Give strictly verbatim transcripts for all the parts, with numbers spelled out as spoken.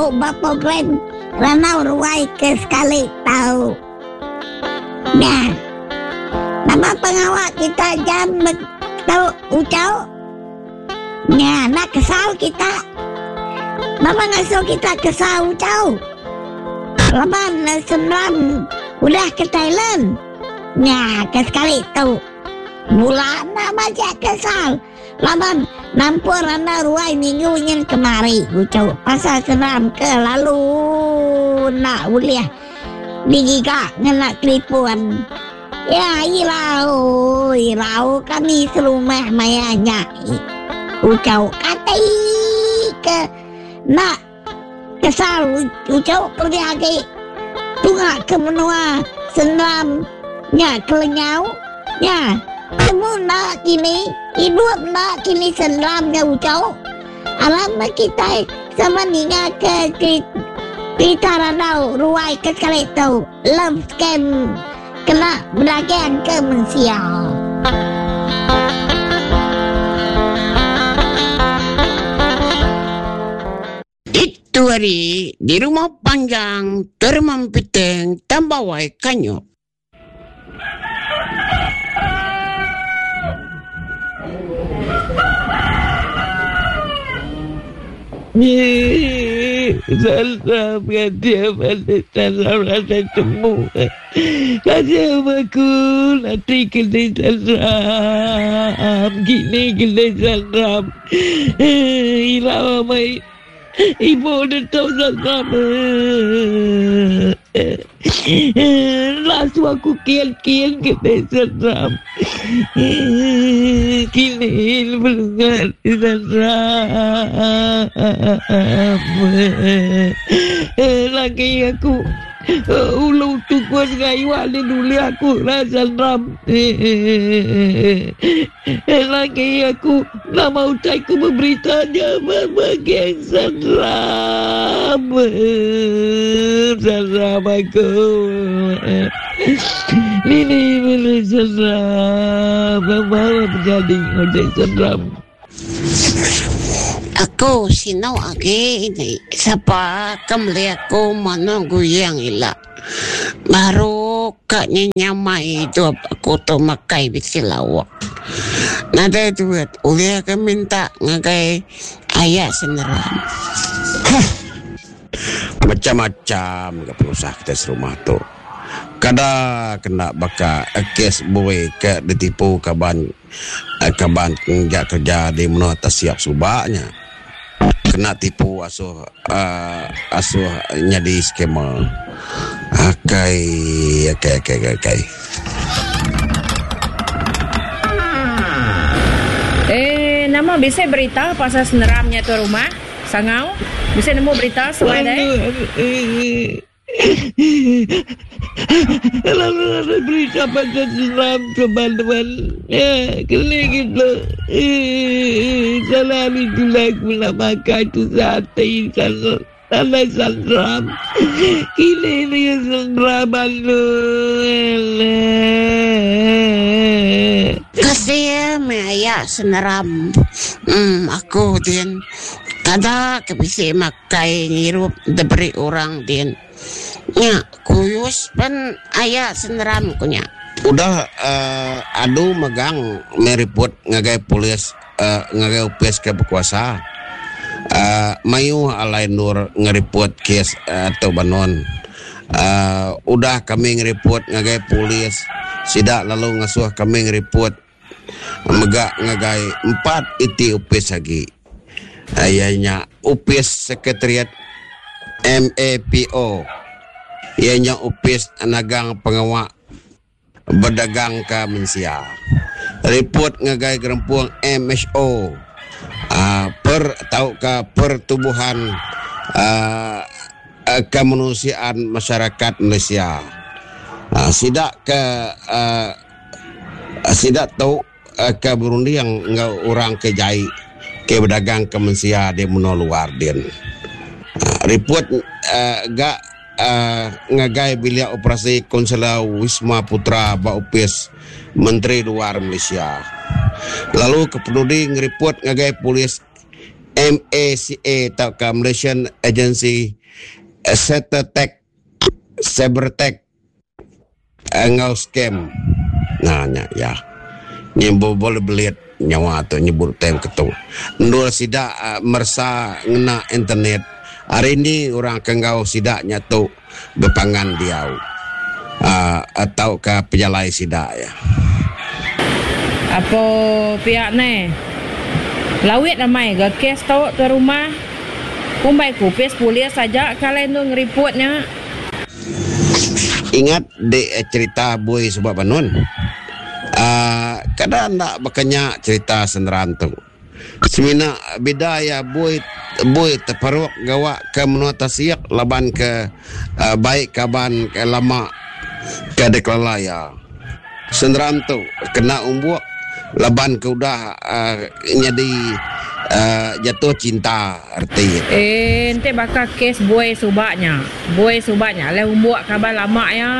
baru ba program Randau Ruai ke sekali tau. Nya. Nama pengawa kita jam tau ucau? Nya, enda kesal kita. Nama ngasuh kita kesal ucau? Laban senang udah ke Thailand. Nya, ke sekali tu. Bula enda majak kesal. Laban nampur anda ruai minggu nyin kemari ucau. Pasal senang ke lalu enda ulih digiga ngena telefon. Ya, irau, irau kami serumah maya nya. Ucau kati ke enda kesal ucau kelebih agi tunga ke menua senam nya kelenyau nya. Temu enda kini, idup enda kini senam nya ucau. Aram meh kitai sama ninga ke cerita randau ruai ke sekali tu love scam kena bedagang ke mensia. Itu hari di rumah panjang Termempiteng Tambawai Kanyuk. Ibu tetap sama. Langsung aku kian-kian ke desa Ram. Kini belungan desa Ram. Lagi aku ulu tukus gayuan di duli aku rasa Ram. Lagi aku nama utai ku beritanya berbagai seram. Seram aku. Ini boleh seram. Bawa menjadi oleh seram. Aku sinau agi ini. Sapa kemeli aku mana guyang ila. Baru ka nyenyamai hidup aku tu makai bisi lawak. Nadai duit ulih ke minta ngagai aya seneram. Hah. Macam-macam ga penusah kitai serumah tu. Kada kena baka kes bui ke ditipu kaban kaban ngeja kerja di menua Tasiap suba nya. Kena tipu asuh uh, asuh nyadi scammer. Akai akai akai akai akai. Eh, nama bisi berita pasal seneram nya tuan rumah? Sangau, bisi nemu berita semai deh? Lalu ada berita pasal seneram teman-teman. Ya, kena gitu. Salah hari tu lah aku nak makan tu sate salah. Salah seneram. Kini ni seneram alu. Kasih meh aya seneram. Hmm, aku din kada ke bisi makai ngirup diberi orang din. Nya kuyus pen aya seneram ku nya. Udah uh, adu megang meh report ngagai polis uh, ngagai opis ke berkuasa. Uh, mayuh alai nur ngereport kes uh, atau banon. Uh, udah kami ngereport ngagai polis, sidak lalu ngasuh kami ngereport mega ngagai empat iti opis lagi. Uh, ianya opis sekretariat M A P O. Ianya opis nagang pengawak berdagang ke Malaysia. Report ngagai gerempung M H O. Uh, per tau ke pertubuhan uh, uh, kemanusiaan masyarakat Malaysia. Uh, sidak ke uh, sidak tau uh, ke Burundi yang ngau orang ke jai ke berdagang ke Malaysia di menua luar din. Uh, report uh, gak uh, ngagai bilik operasi Konsular Wisma Putra ba Upis Menteri Luar Malaysia. Lalu ke penudi ngereport ngagai polis M A C A atau ke Malaysian Agency Cybertech Cybertech enggau scam. Nah nya ya. Nyebut boleh belit nyawa tu nyebut tem ketu. Ndul sida uh, mersa ngena internet. Hari ini orang ke enggau sida nya tu bepangan diau. Uh, atau ke pejalai sida ya. Apa pihak ni? Lawit ramai ke kes tu tu rumah. Kumbai ku pes polis saja kalau nu ngeriputnya. Ingat de cerita bui sebab banun. Uh, kadang nak berkenya cerita senderan tu. Semina beda ya bui bui terperuk gawak ke menua tasiak laban ke uh, baik kaban ke lama ke dekelala ya. Senderan tu kena umbuk laban ke udah uh, jadi uh, jatuh cinta erti. Eh ente bakal kes buai subaknya. Buai subaknya le umbuk kaban lama ya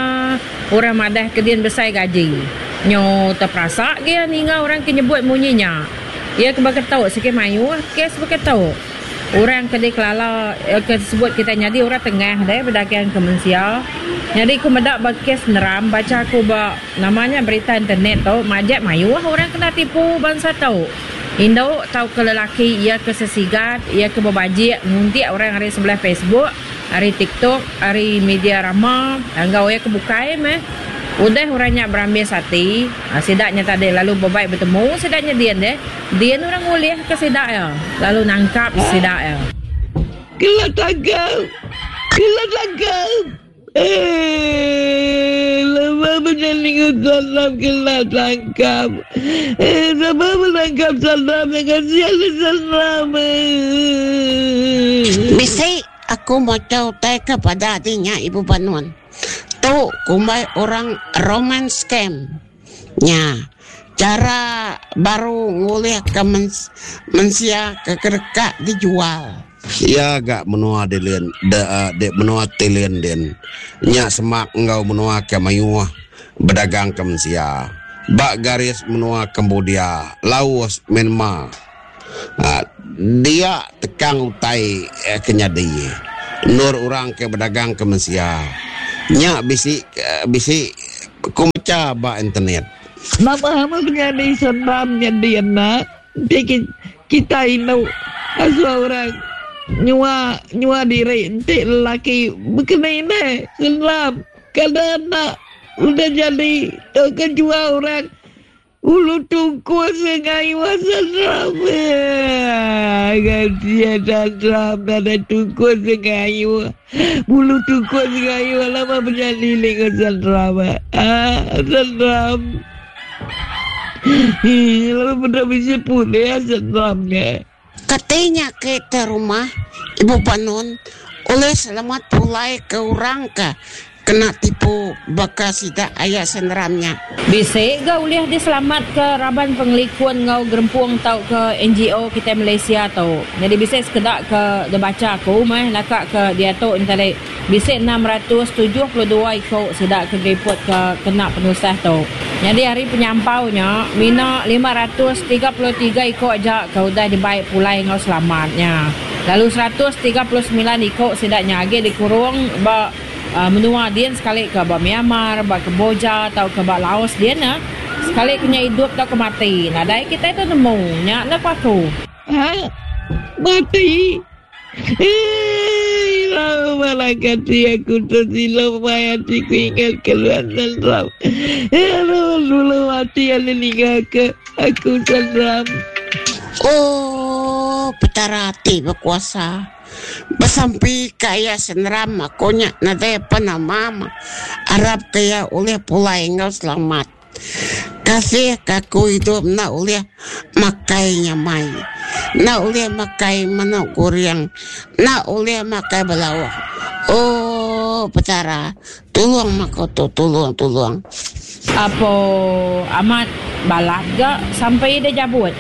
orang madah ke din besai gaji. Nyo terperasak dia ninga orang ke nyebut bunyinya. Ia ke baketau sikit mayu kes baketau. Orang ke dikelala ke sebut kita nyadi orang tengah deh berdagang ke manusia. Jadi aku medak ba kes neram baca aku ba namanya berita internet tu majak mayu orang kena tipu bangsa tu. Indo tau ke lelaki ia ke sesigat, ia ke berbajik nguntik orang hari sebelah Facebook, hari TikTok, hari media rama, enggau ia ke bukai meh. Udah orangnya berambil sati, sidaknya tadi lalu berbaik bertemu sidaknya dia deh. Dia orang ngulih ke sidak ya, lalu nangkap sidak ya. Kena tangkap. Kena tangkap. Eh, lama menjaling salam kena tangkap. Eh, lama menangkap salam dengan siapa salam. Bisi aku mau tahu tai kepada hatinya Ibu Panuan. Tu kumbai orang romance scam. Nya, cara baru ngulih ke mens, mensia ke kerekak dijual. Ya agak menua dilian de, de menua tilian den. Nya semak enggau menua ke mayuh berdagang ke mensia. Bak garis menua Cambodia, Laos, Myanmar. Ha, dia tekang utai eh, kenyadi. Nur orang ke berdagang ke mensia. Nya bisi bisi kumaca ba internet. Nama hama penyadi senam nyadi anak. Dia kita inu asal orang nyua nyua diri enti lelaki berkena ini senam kada anak udah jadi tu kejual orang ulu tungku sengai senam. Ganti senam ada tungku sengai bulu tungku sengai lama menjadi dengan senam. Ah senam. Lalu benda bisa pulih senamnya. Katanya ke rumah Ibu Panon oleh selamat pulai ke orang ke kena tipu bekas tidak ayah senderamnya. Bisa ke uliah diselamat ke raban pengelikun ngau gerempung tau ke N G O kita Malaysia tau. Jadi bisa sekedak ke dia baca aku meh nakak ke dia tu entah bisa enam ratus tujuh puluh dua ikut sedak ke report ke kena penusah tau. Jadi hari penyampaunya mina lima ratus tiga puluh tiga ikut aja ke udah dibaik pulai ngau selamatnya. Lalu seratus tiga puluh sembilan ikut sedaknya agi dikurung ba Uh, menua dia sekali ke ba Myanmar, ba Kemboja atau ke ba Laos dia nah. Sekali kena hidup atau ke mati. Nah, dai kita itu nemu nya nak aku. Ha? Mati. Eh, lama lagi aku tersilau mati ku ingat keluar seram. Eh, dulu mati yang meninggal ke aku seram. Oh, petara hati berkuasa. Besampi kaya seneram aku nya nadai apa nama Arab kaya oleh pulai engkau selamat. Kasih kaku hidup nak oleh makai nyamai, nak oleh makai manuk goreng, nak oleh makai belawak. Oh, petara, tolong makoto, tolong, tolong. Apa amat balat gak sampai dia jabut?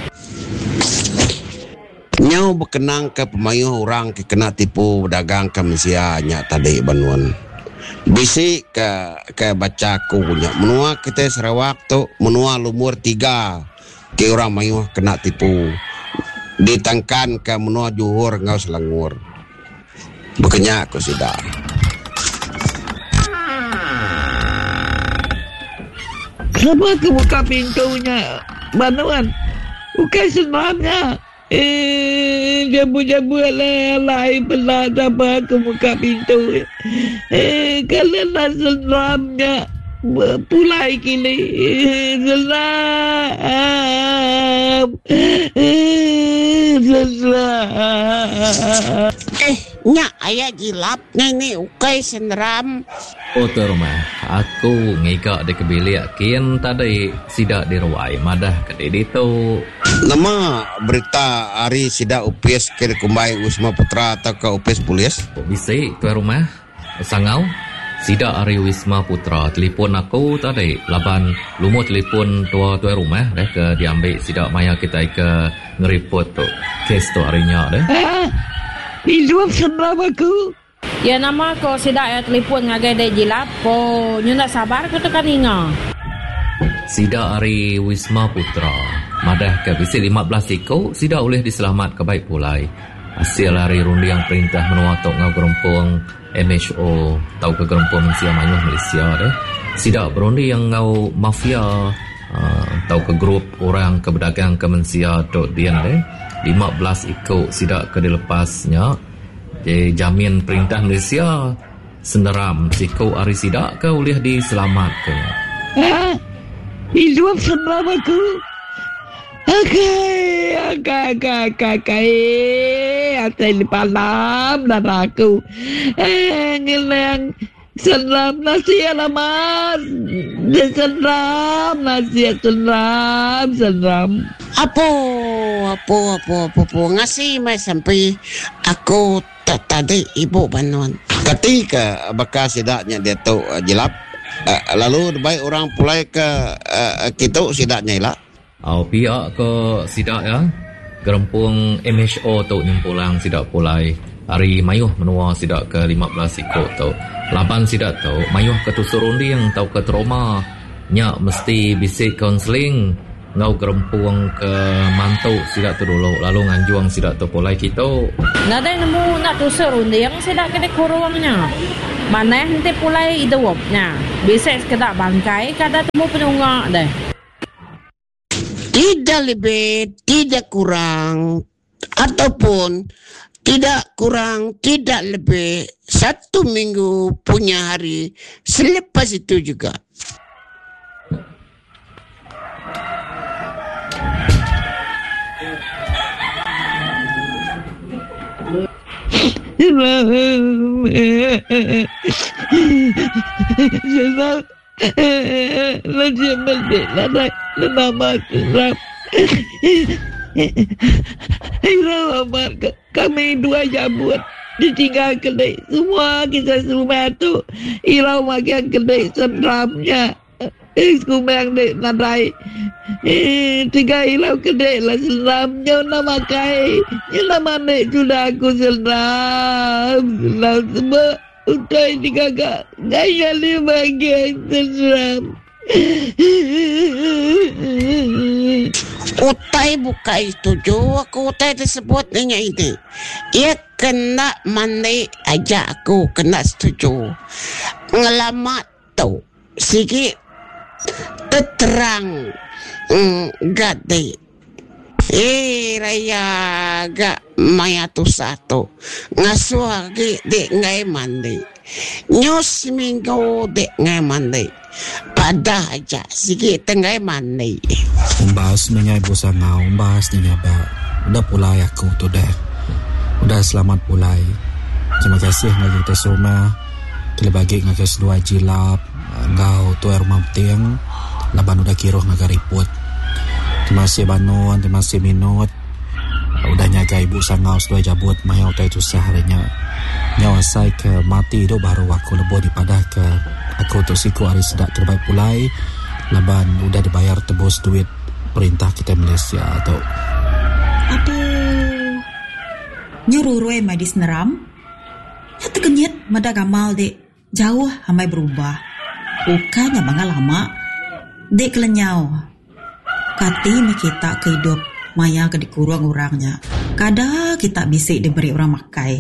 Nyau berkenang ke pemayuh orang ke kena tipu berdagang ke Malaysia nya tadi banun. Bisi ke ke baca aku nya menua kita Sarawak tu menua lumur tiga ke orang mayuh kena tipu Ditangkan ke menua Johor ngau Selangor. Bekenya aku sida. Kenapa aku buka pintunya? Banuan. Bukan senamnya. Eh, jabu-jabu lah lain pula siapa aku buka pintu. Eh, kalau nak senamnya pulai kini. Eh, senam. Eh, senam. Eh, nyak ayah gilapnya ini ukai senram. Oh tu rumah, aku ngigak di kebilik kian tadi sidak di ruai madah ke diri tu. Nama berita hari sidak U P S ke Kumbai Wisma Putra atau ke U P S Polis? Oh, bisi tu rumah sangau sidak hari Wisma Putra telefon aku tadi laban lumur telefon tua tua rumah deh ke diambil sidak maya kita ke ngeripot tu kes tu harinya deh. Ah, hidup senram aku. Ya nama ko sidak ya telefon ngagai dek jilap ko nyu nak sabar ko tekan inga. Sidak hari Wisma Putra madah ke bisi lima belas iko sidak boleh diselamat ke baik pulai. Hasil hari rundiang perintah menua tok ngau gerempung M H O tau ke gerempung Malaysia Mayuh Malaysia deh. Sidak berundi yang ngau mafia uh, tau ke grup orang ke berdagang ke Malaysia tok dian deh. lima belas iko sidak ke dilepasnya. Jadi jamin perintah Malaysia seneram siko hari sidak ke boleh diselamat ke. Ha? Hidup seneram aku. Okey, okey, okey, okey, okey. Atai di palam dan aku. Eh, ngelang seneram nasi alamat. Seneram nasi seneram seneram. Apa, apa, apa, apa, apa. Ngasih mai sampai aku tak tadi ibu bantuan. Ketika bekas sidaknya dia tu jelap, uh, lalu baik orang pulai ke uh, kita sidaknya lah. Oh, pihak ke sidak ya. Gerempung M H O tu nyempulang sidak pulai. Hari mayuh menua sidak ke lima belas ikut tu. Laban sidak tu mayuh ke tusur unding tau ke trauma. Nyak mesti bisik kaunseling ngau gerempung ke mantu sidak tu dulu lalu nganjuang sidak tu pulai kita. Nadai nemu nak tusur unding sidak kena kurangnya. Mana nanti pulai hidupnya. Bisik sekedar bangkai kada temu penungak deh. Tidak lebih, tidak kurang, ataupun tidak kurang, tidak lebih, satu minggu punya hari selepas itu juga. Kami dua jabut ditinggal kedai semua kita semua tu irau makan kedai seramnya eh kumang dek nadai eh tiga ilau kedai lah seramnya nak makai nama nek sudah aku seram seram semua utai tiga kak gaya lima bagian seram. Utai buka itu juga aku utai tersebut nanya ini. Ia kena mandi aja aku kena setuju. Ngelamat tu sigi terang mm, gade. Eh raya gak maya tu satu. Ngasuh lagi dek ngai mandi. Nyus minggu dek ngai mandi. Pada aja sikit tengah mandi. Umbas nanya ibu sangau, umbas nanya ba. Udah pulai aku tu dah. Udah selamat pulai. Terima kasih ngaji kita semua. Kita bagi ngaji sedua jilap, ngau tu air rumah tiang. Laban udah kiruh ngaji riput. Terima kasih Banun, terima kasih Minut. Udah nyaga ibu sangau sedua jabut mayau tai tusah harinya. Nyawa saya ke mati hidup baru aku lebih dipadah ke aku tu siku hari sedak terbaik pulai laban udah dibayar tebus duit perintah kita Malaysia tu. Aduh. Nyuruh ruai mai di seneram. Ya terkenyit meda gamal dek jauh hamai berubah. Ukanya bangga lama dek kelenyau. Kati me kita ke hidup maya ke dikurang orangnya. Kada kita bisi diberi orang makai.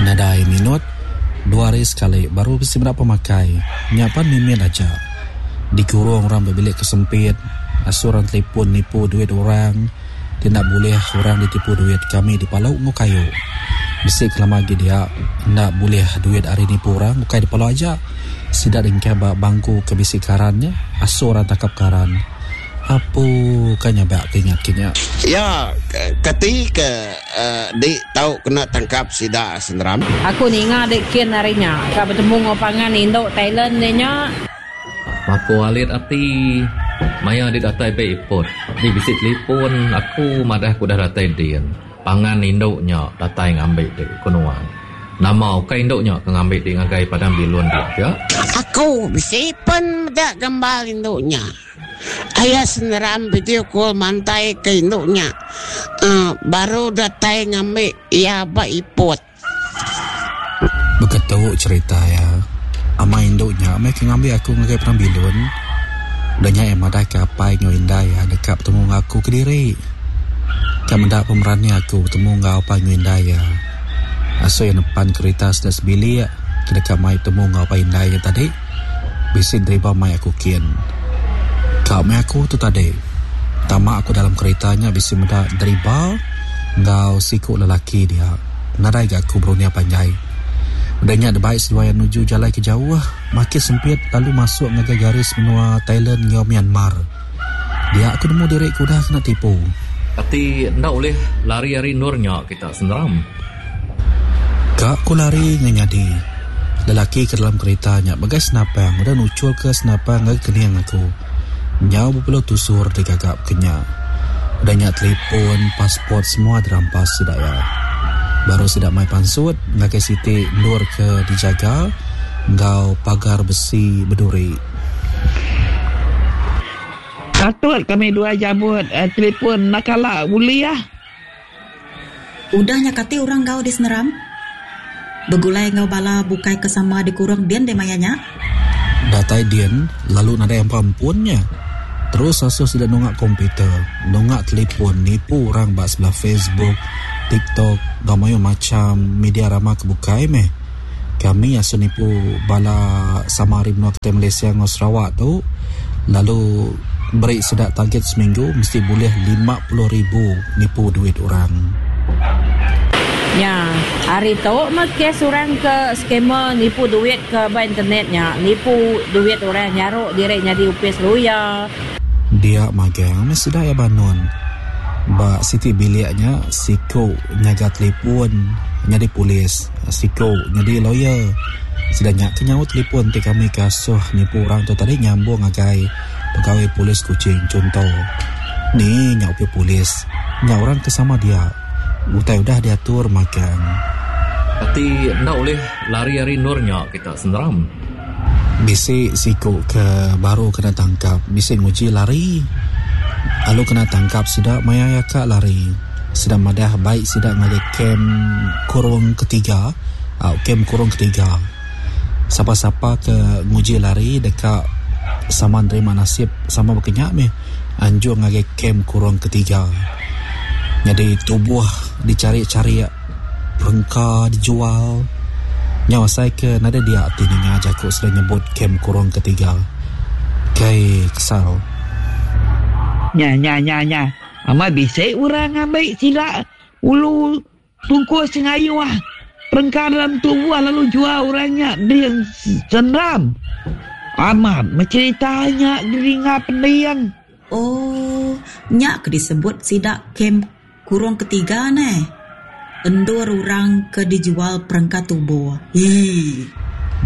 Nadai minut, dua hari sekali baru bisi berapa makai. Nyapan mimin aja. Dikurung orang berbilik kesempit, asuran telefon nipu duit orang. Tidak boleh orang ditipu duit kami di Palau ngau kayu. Bisi kelama lagi dia nak boleh duit hari nipu orang bukan di Palau aja. Sidak dengkai ba bangku ke bisi karannya, asuh orang takap karan. Apu kanya bak ingat kinya. Ya, ketika uh, di tahu kena tangkap sidak senderam. Aku ninga dek kin harinya. Ka bertemu ngopangan Indo Thailand nya. Aku alit ati maya di datai be ipot. Di bisi telefon aku madah aku dah datai din. Pangan induknya datai ngambil di kunuan. Nama ukai induknya ke ngambil di ngagai padang bilun dia ya. Aku bisi pun dak gambar induknya. Ayah seneram video call mantai ke induknya. Uh, baru datai ngambil ia ba ipot. Begitu cerita ya. Ama induknya mereka ngambil aku ngagai padang bilun. Udahnya yang madah ke apai ngau indai ya dekat bertemu dengan aku ke diri. Kan mendak pemerani aku bertemu dengan apai ngau indai ya. Aso yang depan kereta sudah sebilik ke dekat mai bertemu dengan apai indai ya tadi. Bisi driver mai aku kian. Kau mai aku tu tadi. Tamak aku dalam keretanya bisi mendak driver ngau siku lelaki dia. Nadai gak aku berunia panjai. Udahnya ada baik seduai menuju jalan ke jauh, makin sempit lalu masuk ngagai garis menua Thailand ngau Myanmar. Dia aku nemu diri ku dah kena tipu. Tapi ndak boleh lari-lari nurnya kita senderam. Kak ku lari ngenyadi. Lelaki ke dalam keretanya bagai senapang, udah nucul ke senapang ngagai keniang aku. Nyau berpeluh tusur digagap kenya. Udahnya telefon, pasport semua dirampas sudah ya. Baru sidak mai pansut ngagai siti nur ke dijaga ngau pagar besi berduri. Patut kami dua jabut eh, telefon nakala uli ah. Udahnya kati orang gau di seneram. Begulai ngau bala bukai kesama dikurung dian de mayanya. Datai dian lalu nadai yang pampunnya. Terus asuh sudah nongak komputer, nongak telefon, nipu orang bak sebelah Facebook, TikTok, gamayo macam media ramah kebukai meh. Kami asuh nipu bala samari menua kita Malaysia ngau Sarawak tu, lalu beri sedak target seminggu mesti boleh lima puluh ribu nipu duit orang. Ya, hari tu mah kes orang ke skamer nipu duit ke ba internetnya, nipu duit orang nyaruk direk nyadi upis luya. Dia magang mesti dah ya banun. Ba siti biliknya siko nyaga telefon nyadi polis, siko nyadi lawyer. Sedangnya kenyaut telefon ti kami kasuh nipu orang tu tadi nyambung agai pegawai polis Kuching contoh. Ni nyak upi polis, nyak orang kesama dia. Utai udah diatur makan. Tapi ndak boleh lari-lari nurnya kita senderam. Bisi siko ke baru kena tangkap, bisi nguji lari. Lalu kena tangkap sidak maya kak lari. Sidak madah baik sidak ngagai kem kurung ketiga, au kem kurung ketiga. Siapa-siapa ke nguji lari dekat sama nerima nasib sama berkenyak meh anjung ngagai kem kurung ketiga. Jadi tubuh dicari-cari perengka dijual. Nyawa saya ke nada dia ati ninga jakuk sudah nyebut kem kurung ketiga. Kai kesal. Nya nya nya nya. Ama bisik orang ambil sila ulu tungkus sengayu ah. Perengka dalam tubuh lalu jual orangnya dia senram. Amat menceritanya geringa pendiang. Oh, nyak ke disebut sidak kem kurung ketiga neh. Endur orang ke dijual perengka tubuh. Hii.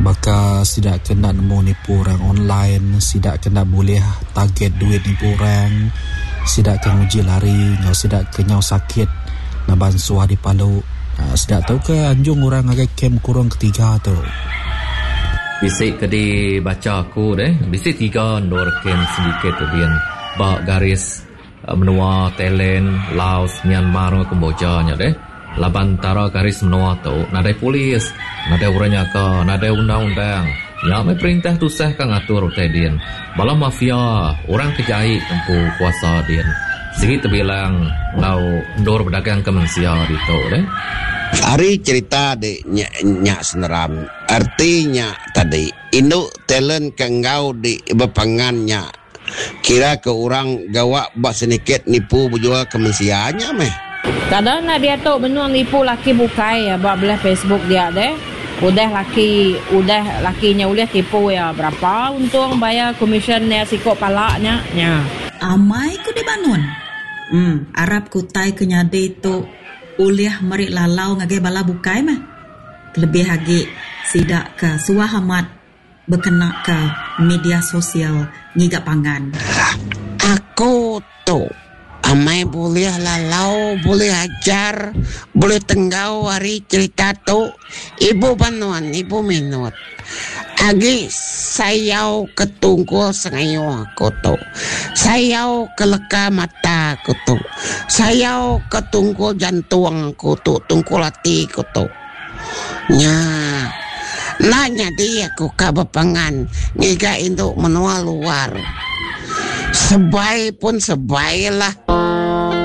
Baka sidak kena nemu nipu orang online, sidak kena boleh target duit nipu orang, sidak kena uji lari, ngau sidak kenyau sakit, naban suah di Palu. Ha, sidak tahu ke anjung orang ngagai kem kurung ketiga tu. Bisik ke dibaca aku deh, bisik tiga endur kem sedikit tu dian bak garis menua Thailand, Laos, Myanmar, Kamboja nya deh. Laban tara garis menua tu nadai polis, nadai orang nyaka, nadai undang-undang. Ya mai perintah tusah ka ngatur utai din. Bala mafia, orang kejai tempu kuasa din. Sigi tebilang enggau endur bedagang ke mensia ditu deh. Ari cerita di nya, nya seneram, artinya tadi indu talent ke enggau di bepangan nya kira ke orang gawa bak sedikit nipu berjual ke mensia nya meh. Kadang nak dia tu benung nipu laki bukai ya bak belah Facebook dia deh. Udah laki, udah lakinya ulih tipu ya berapa untung bayar komisen ya sikok palaknya nya. Amai ku dibanun. Hmm, arap kutai ke nyadi tu ulih meri lalau ngagai bala bukai meh. Lebih lagi sidak ke suah amat berkena ke media sosial ngiga pangan. Aku tu amai boleh lalau, boleh ajar, boleh tenggau hari cerita tu ibu banuan, ibu minut. Agi sayau ketungkul sengayu aku tu. Sayau ke leka mata aku tu. Sayau ketungkul jantung aku tu, tungkul hati aku tu. Nya. Nanya dia aku ka bepangan ngiga induk menua luar. Sebai pun sebai lah.